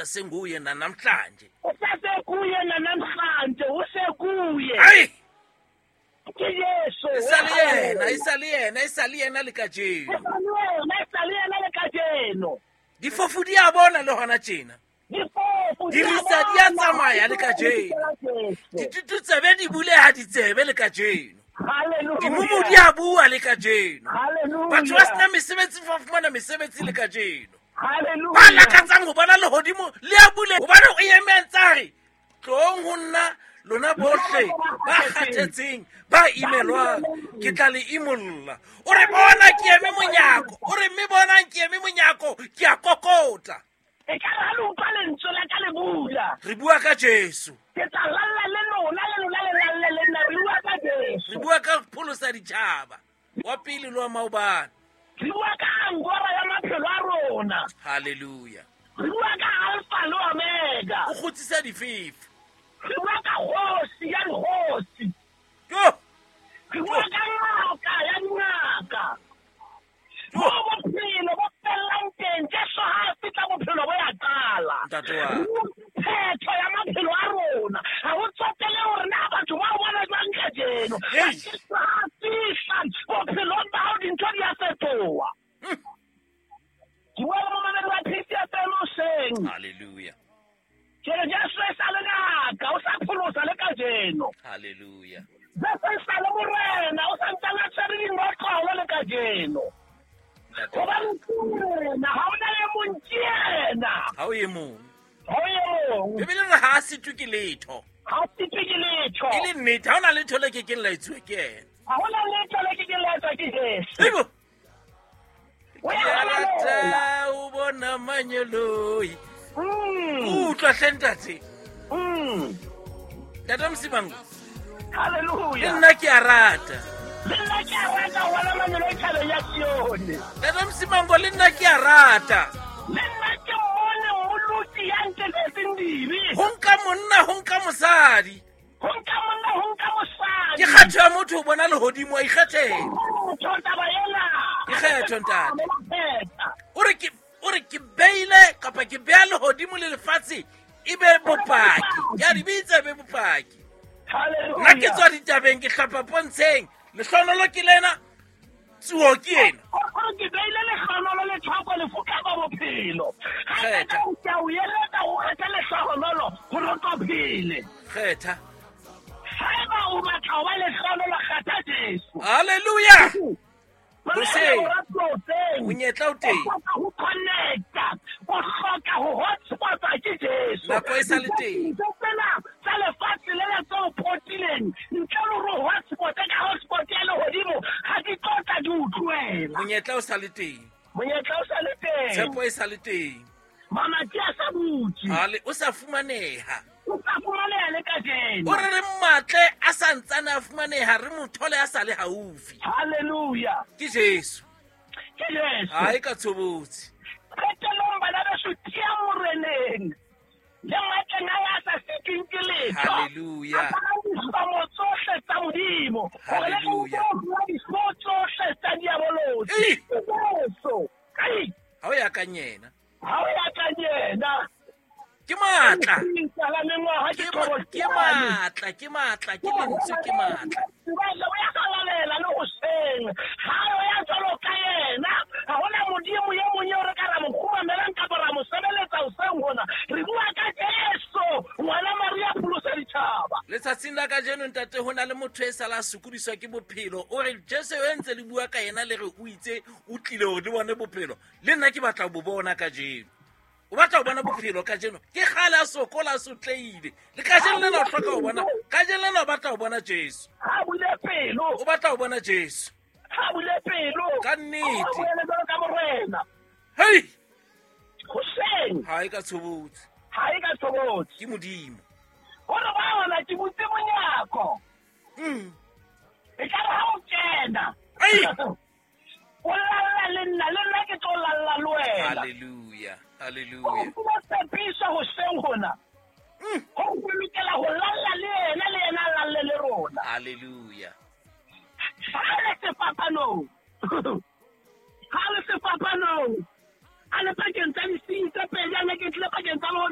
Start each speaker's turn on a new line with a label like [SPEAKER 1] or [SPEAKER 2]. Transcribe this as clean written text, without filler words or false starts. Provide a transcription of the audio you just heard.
[SPEAKER 1] Senguye nanamhlanje.
[SPEAKER 2] Usasekuye nanamhlanje, usekuye.
[SPEAKER 1] Ai!
[SPEAKER 2] Ke Jesu.
[SPEAKER 1] E sa le yena, e sa le yena, e sa le yena le kajeno.
[SPEAKER 2] E sa le yena, e sa le yena le kajeno.
[SPEAKER 1] Difofu di a bona le hona tjena.
[SPEAKER 2] Difofu
[SPEAKER 1] di ritsa di a tsamaya le kajeno. Ditututsebe di buleha ditsebe le kajeno.
[SPEAKER 2] Hallelujah.
[SPEAKER 1] Dimumu di a bua le kajeno.
[SPEAKER 2] Hallelujah.
[SPEAKER 1] Batho ba sena mesebetsi fa fumana mesebetsi le kajeno.
[SPEAKER 2] Hallelujah.
[SPEAKER 1] Ba lakatsang ho bona lehodimo le a bule hobane o eme a ntse a re tlong ho nna lona bohle ba kgathetseng ba imelwang ke tla le imolla. O re bona ke eme monyako, o re mme bonang ke eme monyako ke a kokota.
[SPEAKER 2] E ka re ha le utlwa lentswe la ka le bula.
[SPEAKER 1] Re bua ka Jesu.
[SPEAKER 2] Ke tla lalla le lona, le lona le lalle le nna. Re bua ka Jesu.
[SPEAKER 1] Re bua ka pholosa ditjhaba. Wa pele le wa maobane.
[SPEAKER 2] Re bua ka angora ya maphelo a rona.
[SPEAKER 1] Hallelujah.
[SPEAKER 2] Re bua ka Alpha le Omega.
[SPEAKER 1] O kgutsisa difefo.
[SPEAKER 2] Re bua ka kgosi ya dikgosi.
[SPEAKER 1] Yo.
[SPEAKER 2] Re bua ka ngaka ya dingaka. Mo bophelo bo fellang teng, Jesu ha a fihla bophelo bo ya qala.
[SPEAKER 1] Ntate wa.
[SPEAKER 2] Phetho ya maphelo a rona. Ha ho tsotele hore na batho ba o bona jwang kajeno.
[SPEAKER 1] Hey.
[SPEAKER 2] Jesu ha a fihla bophelong ba hao dintho di a fetoha. Ke bua le momamedi wa PCFM hoseng.
[SPEAKER 1] Hallelujah.
[SPEAKER 2] Ke re Jesu e sa le ngaka, o sa pholosa le kajeno.
[SPEAKER 1] Hallelujah.
[SPEAKER 2] Jesu e sa le morena, o sa ntsane a tshwere dinotlolo le kajeno. Hobane ke yena, ha hona e mong ke yena.
[SPEAKER 1] Ha o e mong.
[SPEAKER 2] Ha o e mong.
[SPEAKER 1] Bibele re ha a sitwe ke letho.
[SPEAKER 2] Ha a sitwe ke letho.
[SPEAKER 1] E le nnete, ha hona letho le kekeng la etsuwa ke yena.
[SPEAKER 2] Ha hona letho le kekeng la etswa ke Jesu.
[SPEAKER 1] Ebo.
[SPEAKER 2] O ya
[SPEAKER 1] Ke
[SPEAKER 2] halalela.
[SPEAKER 1] rata ho bona manyeloi. Utlwa hle ntate. Ntate Msimango.
[SPEAKER 2] Hallelujah.
[SPEAKER 1] Le nna ke a rata.
[SPEAKER 2] Le nna ke a rata ho bona manyeloi thabeng ya Sione.
[SPEAKER 1] Ntate Msimango, le nna ke a rata.
[SPEAKER 2] Le nna ke mmone mmoloki ya nteletseng dibe.
[SPEAKER 1] Ho nka monna, ho nka mosadi.
[SPEAKER 2] Ho nka monna, ho nka mosadi.
[SPEAKER 1] Ke kgetho ya motho ho bona lehodimo, a ikgethela.
[SPEAKER 2] Kgetho taba ena.
[SPEAKER 1] Ke kgetho, ntate.
[SPEAKER 2] Kgetha.
[SPEAKER 1] O re ke, o re ke beile kapa ke beha lehodimo le lefatshe e be bopaki. Ke a di bitsa e be bopaki.
[SPEAKER 2] Hallelujah.
[SPEAKER 1] Nna ke tswa ditabeng, ke hlapa pontsheng. Lehlohonolo ke lena, tsuo ke ena.
[SPEAKER 2] O re ke beile lehlohonolo le thoko lefu kapa bophelo. Ha
[SPEAKER 1] Kgetha.
[SPEAKER 2] ke a o eletsa ho kgetha lehlohonolo hore o tlo phele.
[SPEAKER 1] Kgetha.
[SPEAKER 2] Haeba o batla ho ba lehlohonolo, kgetha Jesu.
[SPEAKER 1] Hallelujah.
[SPEAKER 2] Hoseng.
[SPEAKER 1] Hoseng. Monyetla o teng.
[SPEAKER 2] O hloka ho connecta, o hloka ho hotspotwa ke Jesu.
[SPEAKER 1] Nako e sa le teng.
[SPEAKER 2] Dintho tsena tsa lefatshe lena tse o potileng, ntle le hore o hotspote ka hotspot ya lehodimo, ha di tlo tla di o tlohela.
[SPEAKER 1] Monyetla o sa le teng.
[SPEAKER 2] Monyetla o sa le teng.
[SPEAKER 1] Tshepo e sa le teng.
[SPEAKER 2] Mamati a sa butse.
[SPEAKER 1] Ale, o sa fumaneha.
[SPEAKER 2] O sa fumaneha le kajeno.
[SPEAKER 1] O re re mmatle a sa ntsane a fumaneha, re mo thole a sa le haufi.
[SPEAKER 2] Hallelujah.
[SPEAKER 1] Ke Jesu.
[SPEAKER 2] Ke Jesu.
[SPEAKER 1] Ha e ka tshobotsi.
[SPEAKER 2] Qetellong bana beso, tiya moreneng. Le matleng a ya sa sitweng ke letho.
[SPEAKER 1] Hallelujah.
[SPEAKER 2] Aparang dihlomo tsohle tsa Modimo. Hore le
[SPEAKER 1] Hallelujah.
[SPEAKER 2] utlwe dihlomo tsohle tsa diabolosi.
[SPEAKER 1] Ei.
[SPEAKER 2] Ke Jesu. Ei.
[SPEAKER 1] Ha o ya ka yena.
[SPEAKER 2] Ha o ya ka yena.
[SPEAKER 1] Ke matla.
[SPEAKER 2] Ke la mengwaha ke
[SPEAKER 1] Ke
[SPEAKER 2] thobo
[SPEAKER 1] ke
[SPEAKER 2] tsane.
[SPEAKER 1] matla, ke matla, ke lentswe, ke matla.
[SPEAKER 2] Jwale o ya halalela le hoseng. Ha o ya jwalo ka yena, ha hona Modimo e mong eo re ka ra mo kgumamelang kapa ra mo sebeletsa hoseng hona. Re bua ka Jesu, ngwana Maria pholosa ditjhaba.
[SPEAKER 1] Letsatsing la kajeno ntate ho na le motho e sala a sokodiswa ke bophelo. O re Jesu eo ntse le bua ka yena le re o itse o tlile hore le bone bophelo. Le nna ke batla ho bo bona kajeno. O batla ho bona bophelo kajeno. Ke kgale a sokola, a sotlehile. Le kajeno lena o hloka ho bona. Kajeno lena o batla ho bona Jesu.
[SPEAKER 2] Ha bule pelo.
[SPEAKER 1] O batla ho bona Jesu.
[SPEAKER 2] Ha bule pelo.
[SPEAKER 1] Ka nnete.
[SPEAKER 2] Ha bule jwalo ka morena.
[SPEAKER 1] Hei!
[SPEAKER 2] Hoseng.
[SPEAKER 1] Ha e ka tshobotsi.
[SPEAKER 2] Ha e ka tshobotsi.
[SPEAKER 1] Ke Modimo.
[SPEAKER 2] Hore ba ona ke butse monyako. E ka re ha o kena.
[SPEAKER 1] Ei!
[SPEAKER 2] O lalla le nna, le nna ke tlo lalla le wena.
[SPEAKER 1] Hallelujah. Hallelujah.
[SPEAKER 2] O fuwa tshepiso hoseng hona. Ho lokela ho lalla le yena, le yena a lalle le rona.
[SPEAKER 1] Hallelujah.
[SPEAKER 2] Ha le sefapanong. Ha le sefapanong. A le pakeng tsa disenyi tse pedi, a ne ke tlile pakeng tsa lona.